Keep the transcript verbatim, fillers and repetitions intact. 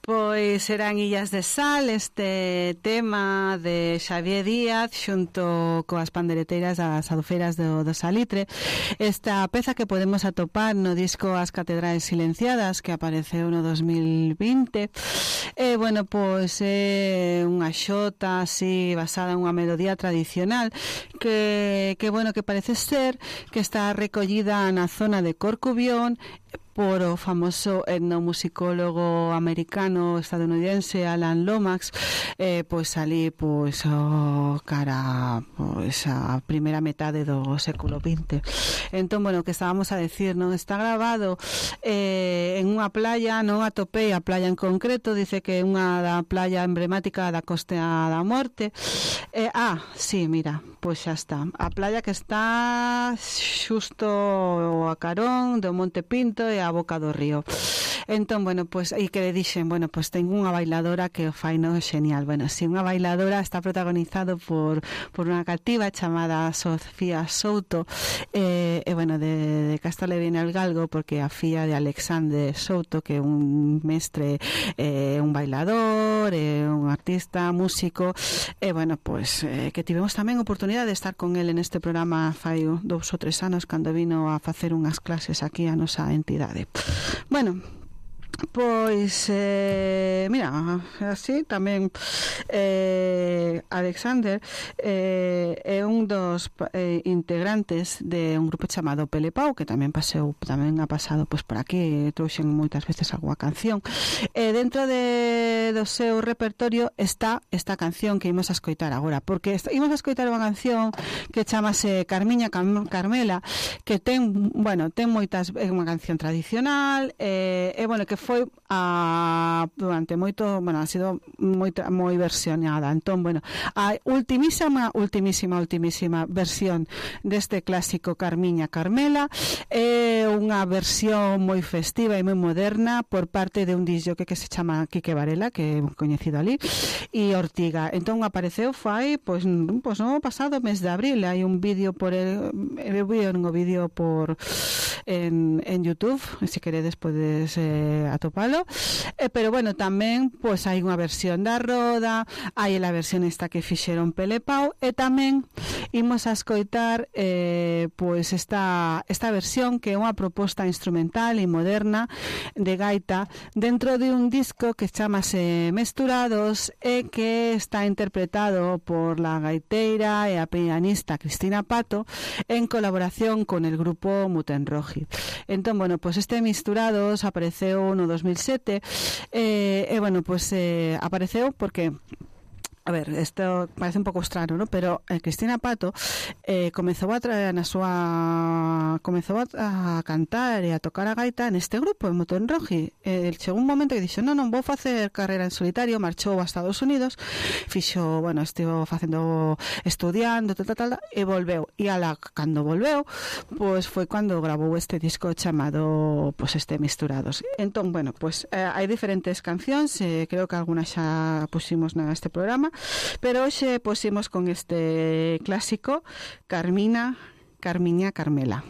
Pois eran Illas de Sal, este tema de Xavier Díaz xunto coas pandereteiras das adufeiras do, do Salitre. Esta peza que podemos atopar no disco As Catedrales Silenciadas, que apareceu no dos mil vinte. E, bueno, pois é unha xota así basada en unha melodía tradicional que, que bueno, que parece ser que está recollida na zona de Corcubión por o famoso etnomusicólogo americano estadounidense Alan Lomax, eh, pois ali pois o cara pois a primeira metade do século vinte. Entón, bueno, que estábamos a decir, non está grabado eh, en unha playa, non atopei a playa en concreto, dice que é unha da playa emblemática da Costa da Morte. Eh, ah, sí, mira, pois xa está. A playa que está xusto a carón do Monte Pinto e a boca do río. Entón, bueno, pois, e que le dixen, bueno, pois ten unha bailadora que o fai no genial. Bueno, si, unha bailadora está protagonizado por, por unha cativa chamada Sofía Souto, e, eh, eh, bueno, de, de Casta le viene al galgo, porque a filla de Alexander Souto, que é un mestre, eh, un bailador, eh, un artista, músico, e, eh, bueno, pois, eh, que tivemos tamén oportunidade de estar con ele neste programa fai dous ou tres anos, cando vino a facer unhas clases aquí a nosa entidade. Bueno, pois eh, mira, así tamén eh, Alexander eh, é un dos eh, integrantes de un grupo chamado Pelepau, que tamén paseu, tamén ha pasado pois por aquí, trouxen moitas veces algunha canción. E eh, dentro de do seu repertorio está esta canción que imos a escoitar agora, porque imos a escoitar unha canción que chamase Carmiña Carmela, que ten, bueno, ten moitas, é unha canción tradicional, e eh, eh, bueno, que foi a, durante moito, bueno, ha sido moi, moi versionada. Entón, bueno, a ultimísima, ultimísima, ultimísima versión deste clásico Carmiña Carmela é unha versión moi festiva e moi moderna por parte de un disjockey que se chama Quique Varela, que é coñecido ali, e Ortiga. Entón apareceu fai, pois, pois no pasado mes de abril. Hai un vídeo por el, eu vi un vídeo por en, en YouTube, se queredes podes eh, atopalo. Eh, pero bueno, tamén pois hai unha versión da Roda, hai a versión esta que fixeron Pelepau, e tamén imos a escoitar eh, pois esta, esta versión que é unha proposta instrumental e moderna de gaita dentro de un disco que chamase Mesturados e que está interpretado por la gaiteira e a pianista Cristina Pato en colaboración con el grupo Mutenroji. Entón, bueno, pois este Mesturados apareceu no dos mil sete e, eh, eh, bueno, pois eh, apareceu porque, a ver, isto parece un pouco estranho, ¿no? Pero eh, Cristina Pato eh, comezou a traer na súa comezou a, a cantar e a tocar a gaita neste grupo, en Mutenroji. Eh, chegou un momento que dixo, non, non, vou facer carreira en solitario, marchou a Estados Unidos, fixo, bueno, estivo facendo, estudiando, tal, tal, tal, e volveu. E ala, cando volveu, pois foi cando grabou este disco chamado, pois, este Mesturados. Entón, bueno, pois eh, hai diferentes cancións, eh, creo que algunas xa pusimos neste programa, pero hoxe pusimos con este clásico Carmina, Carmiña Carmela.